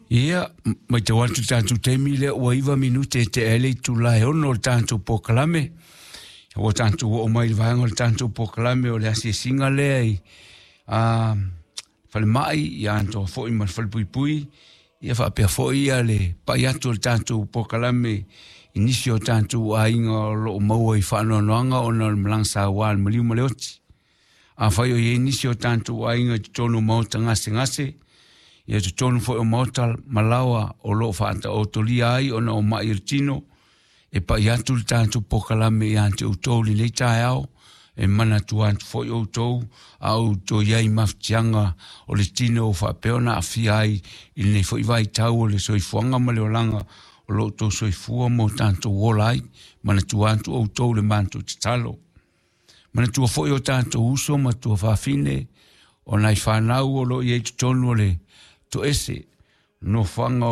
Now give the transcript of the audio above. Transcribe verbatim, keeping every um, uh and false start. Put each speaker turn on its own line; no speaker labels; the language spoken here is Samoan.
Ia, matau atu le tatou taimi lea ua iva minute e tea ai le itula e ono o le tatou polokalame. Ua tatou oo mai i le vaega o le tatou polokalame o le asiasiga lea i a falemai, ia atoa foi ma le falepuipui, ia faapea foi ia le pai atu o le tatou polokalame i nisi o tatou aiga o loo maua i faanoanoaga ona o le malaga saua a le maliu ma le oti. Afai o i ai nisi o tatou aiga i totonu o maota gasegase, ia totonu foi o maota malaoa o loo faataotolia ai ona o mai o le tino, e pai atu le tatou polokalame ia te outou i lenei taeao, e manatua atu foi outou a outou i ai mafatiaga o le tino o faapea ona aafia ai i lenei foi vaitau o le soifuaga ma le olaga o lo outou soifua ma o tatou ola ai. Manatua atu outou le matou tatalo. Manatua foi o tatou uso ma tuafafine o nai fanau o loo i ai totonu o le toese nofoaga